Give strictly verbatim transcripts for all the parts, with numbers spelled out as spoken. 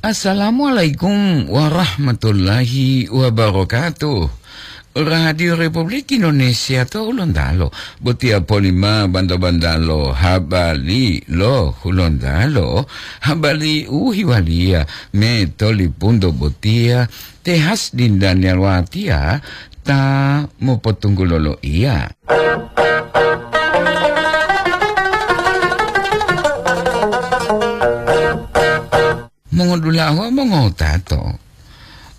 Assalamualaikum warahmatullahi wabarakatuh. Radio Republik Indonesia to Hulontalo, botiya polima banda-bandalo habari lo Hulontalo, habari u hiwaliya me tolipunto botiya, te Hasdin Daniel Watiya ta mopotunggulo loiya. Mongodula'a wawu mongotato,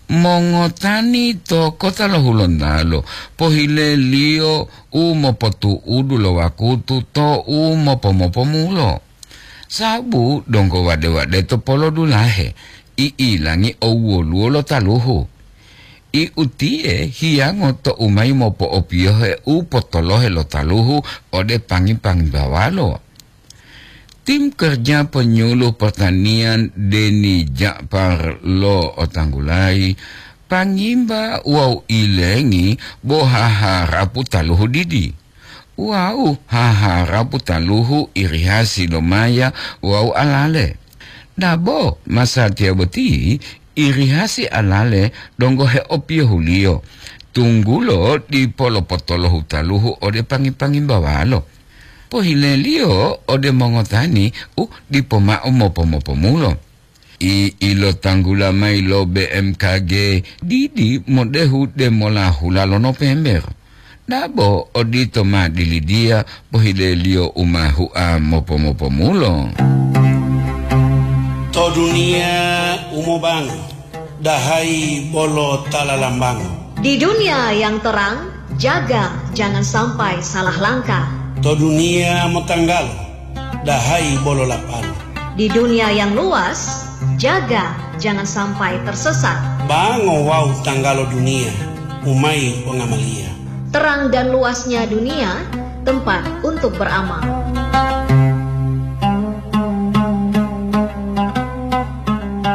mongotani to kota lo Hulontalo pohileliyo u mopotu'udu lo wakutu to u mopo-mopomulo. Sabu donggo wade-wade to polodulahe, i'ilangi owwoluwo lo taluhu. I utiye hiyango to u mayi mopo'opiyohe u potolohe lo taluhu ode pangi-pangibawalo. Tim kerja penyuluh pertanian Deni Ja'far lo otanggulayi, pangimba wawu ilengi bo haharapu taluhu didi. Wawu haharapu taluhu irihasi lo maya wawu alale. Dabo masatiya boti irihasi alale donggo heopiyohuliyo, tunggulo dipo lopotolohu taluhu ode pangi-pangimbawalo. Pohileliyo ode mongotani u dipo mao mopo-mopomulo. I ilotanggula mayi lo B M K G didi modehu demola hula lo Nopember. Dabo odito ma dilidiya pohileliyo u ma hua mopo-mopomulo. To duniya u mobango, dahayi bolo ta lalambango. Di dunia yang terang, jaga jangan sampai salah langkah. To duniya motanggalo, dahayi bolo lapalo. Di dunia yang luas, jaga jangan sampai tersesat. Bango wawu tanggalo duniya, u mayi pongamaliya. Terang dan luasnya dunia, tempat untuk beramal.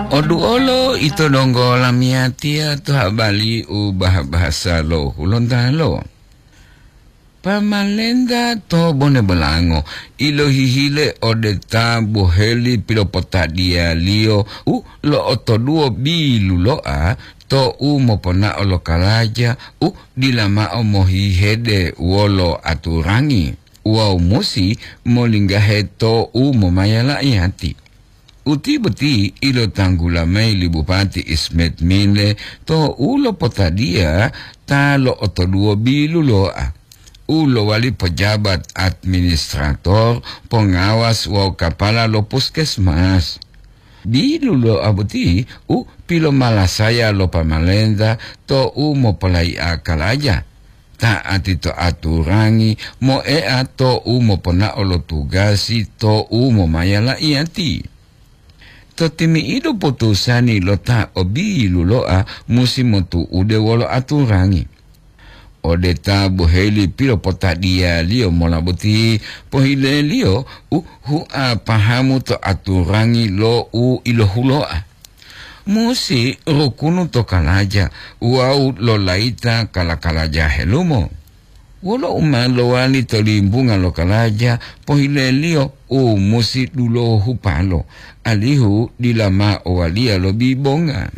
Oduolo ito donggo lamiyatiya to habari u bah-bahasa lo Hulontalo. Pamalenta to Bone Bolango ilohihile ode ta boheli pilopotadiyaliyo u lo'otoduwo bilulo'a to u moponao lo kalaja u dila mao mohihede wolo aturangi wawu musi molinggahe to u momaya la'iyati. Uti boti ilotanggula mayi li Bupati Ismet Mile to u lopotadiya ta lo'otoduwo bilulo'a, u lowali pejabat administrator, pengawas wawu kapala lo puskesmas. Bilulo'a boti u pilomalasaya lo pamalenta to u mopolayi'a kalaja, ta'ati to aturangi, moea to u moponao lo tugasi to u momaya la'iyati. To timi'idu putusani lo ta o bilulo'a musi motu'ude wolo aturangi. Ode ta boheli pilopotadiyaliyo mola boti, pohileliyo u hua pahamu to aturangi lo u ilohulo'a. Musi rukunu to kalaja wawu lolayita kala-kalaja helumo. Wolo u ma lowali to limbunga lo kalaja, pohileliyo u musi dulohupalo, alihu dila ma owaliya lo bibonga.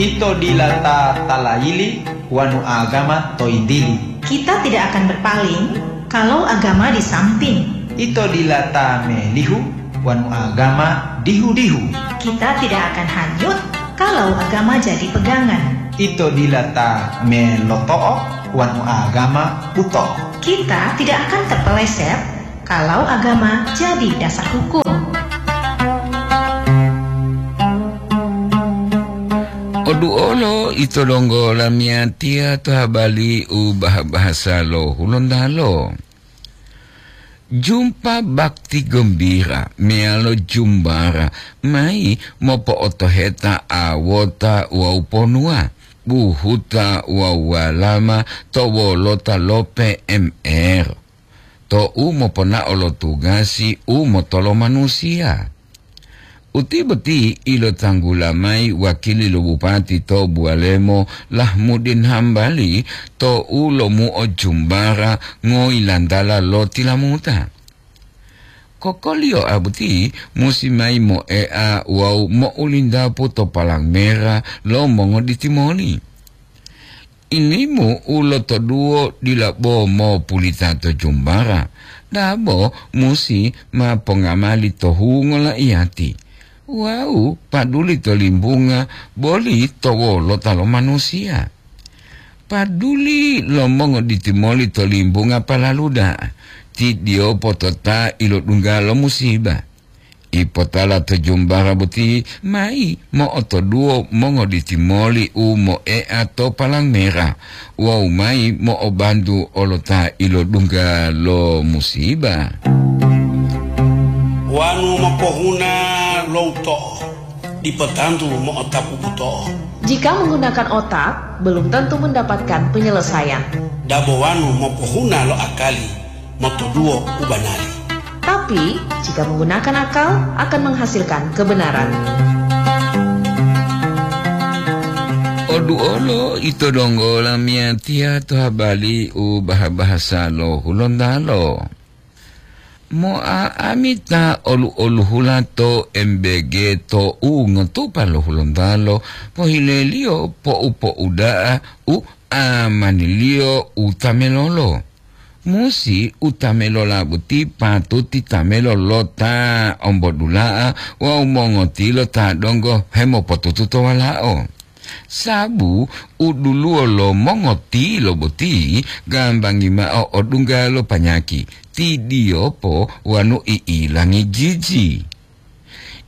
Ito dila ta talayili wanu agama to yintili. Kita tidak akan berpaling kalau agama di samping. Ito dila ta melihu wanu agama dihu-dihu. Kita tidak akan hanyut kalau agama jadi pegangan. Ito dila ta meloto'o wanu agama buto'o. Kita tidak akan terpeleset kalau agama jadi dasar hukum. Oduolo ito donggo lamiyatiya to habari u bah-bahasa lo Hulontalo. Jumpa bakti gembira meyalo jumbara mayi mopo'otoheta awota wawu ponuwa, buhuta wawu walama to wolota lo P M R, to u moponao lo tugasi u motolomanusiya. Uti boti ilotanggula mayi wakili lo bupati to Buwalemo, Lahmudin Hambali, to u lomuo jumbara ngoyilantala lo tilamuta. Kokoliyoa boti musi mayi moea wawu mo'ulindapu to palang mera lo mongoditi moli. Ilimu u lotoduwo dila bo mopulita to jumbara, dabo musi ma pongamali to hungo laiyati, wawu paduli to limbunga boli to wolota lo manusiya. Paduli lo mongoditi moli to limbunga palalu da'a, ti diyopo to ta ilodungga lo musiba. Ipotala to jumbara boti mayi mo'otoduwo mongoditi moli u moea to palang mera wawu mayi mo'obantu olo ta ilodungga lo musiba. Wanu mopohuna lo uto'o, dipo tantu mo'otapu buto'o. Jika menggunakan otak, belum tentu mendapatkan penyelesaian. Dabo wanu mopohuna lo akali, motoduwo u banari. Tapi, jika menggunakan akal, akan menghasilkan kebenaran. Oduolo ito donggo lamiyatiya to habali u baha-bahasa lo Hulontalo. Mo'a'amita olu-oluhula to M B G to u ngotupa lo Hulontalo, pohileliyo po'u-po'uda'a u amaniliyo u tamelolo. Musi u tamelola boti patuti tamelo lo ta ombodula'a wawu mongotilo ta donggo hemopotutu to walao. Sabu u duluwo lo mongotilo boti gambangi ma'o odungga lo panyaki, tidiyopo wanu i'ilangi jiji.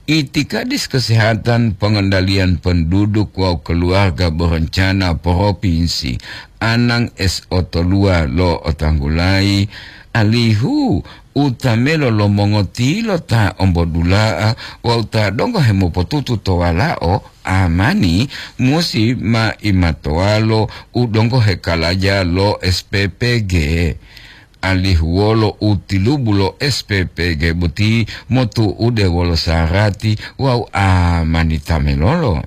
Itikadis Kesehatan Pengendalian Penduduk wawu Keluarga Berencana Propinsi Anang S O Tolua lo otanggulayi, alihu u tamelo lo mongotilo ta ombodula'a wawu ta donggo hemopotutu to walao amani musi ma imatowalo u donggo hekalaja lo S P P G. Alihu wolo u tilubu lo S P P G boti motu'ude wolo sarati wawu amani tamelolo.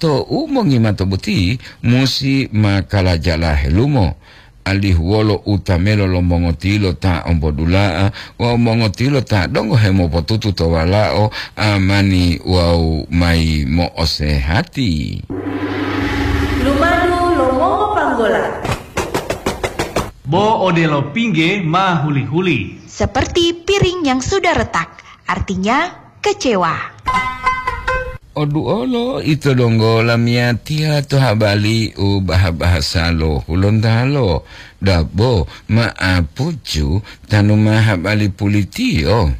To u mongimato boti musi ma kalajala helumo, alihu wolo u tamelo lo mongotilo ta ombodula'a wawu mongotilo ta donggo hemopotutu to walao amani wawu mayi mo'osehati. Lumadu lo mongopanggola. Bo odelo pingge ma huli-huli. Seperti piring yang sudah retak, artinya kecewa. Oduolo ito donggo lamiyatiya to habali u baha-bahasa lo Hulontalo, dabo ma'apucu tanu ma habali pulitiyo.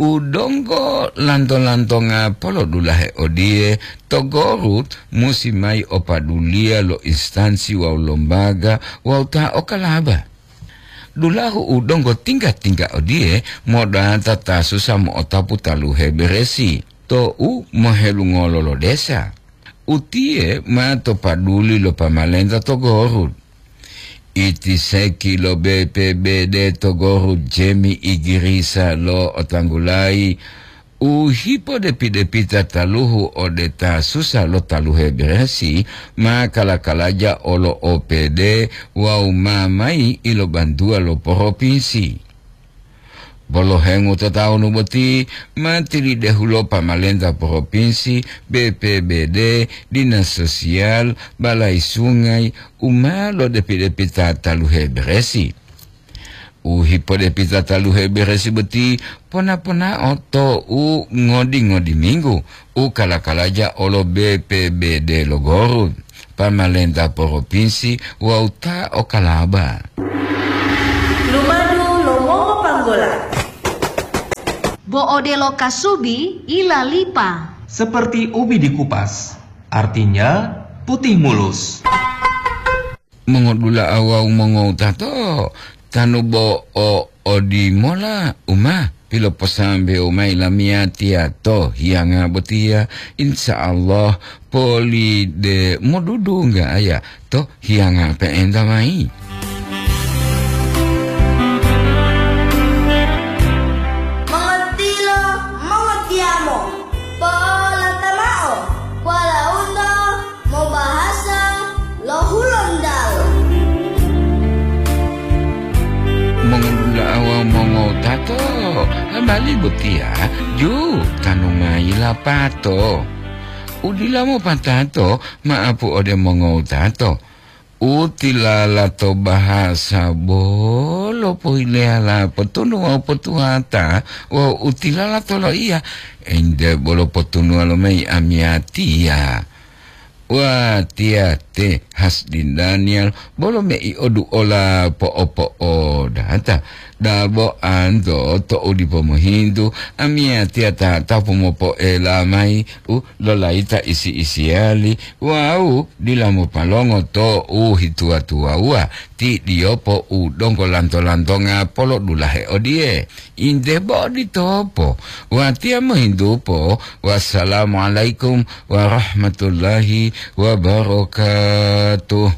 U donggo lanto-lantonga polodulahe odiye, to Gorut musi mayi opaduliya lo instansi wawu lombaga wawu ta okalaba. Dulahu u donggo tingga-tingga odiye modata ta susa mo'otapu taluhe beresi, to u mohelungolo lo desa. Utiye ma to paduli lo pamalenta to Gorut. Itiseki lo B P B D to Gorut Jemi Igirisa lo otanggulayi, u hipodepi-depita taluhu ode ta susa lo taluhe beresi ma kala-kalaja olo O P D wawu ma mayi ilobantuwa lo poropinsi. Bolohengu to tawunu boti ma tilidehulo pamalenta poropinsi, B P B D, dinas sosial, balai sungai, u ma lodepi-depita taluhe beresi. U hipodepita taluhe beresi boti pona-ponao to u ngodi-ngodi minggu u kala-kalaja olo B P B D lo Gorut, pamalenta poropinsi wawu ta okalaba. Lumadu lo mongopanggola. Bo odelo kasubi ilalipa. Seperti ubi dikupas, artinya putih mulus. Mongodula'a wawu mongowutato, tanu bo o odimola u ma piloposambewo mayi lamiyatiya to hiyanga botiya, insya Allah poli de modudungga aya to hiyanga pe'enta mayi. Mongotilo, mongotiyamo, polata mao, walaundo mobahasa lo Hulontalo. Mongodula'a wawu mongo- Tato, habali botiya ju tanu mayi lapato. Udila mopatato, maapu ode mongowutato. Utilala to bahasa bolo pohileyala potunu wawu potuwata, wawu utilala to loiya, ente bolo potunuwa lomayi amiyatiya. Watiya te Hasdin Daniel bolo mei oduola po'opo'odata. Dabo anto to'u dipo mohintu, amiyatiya ta tapu mopo'ela mayi u lolayita isi-isiyali wawu dila mopalongo to'u hituwa-tuwawuwa ti diyopo u donggo lanto-lantonga polodulahe odiye. Inte bo oditopo, watiya mohintupo, "Wassalamualaikum warahmatullahi wabarakatuh."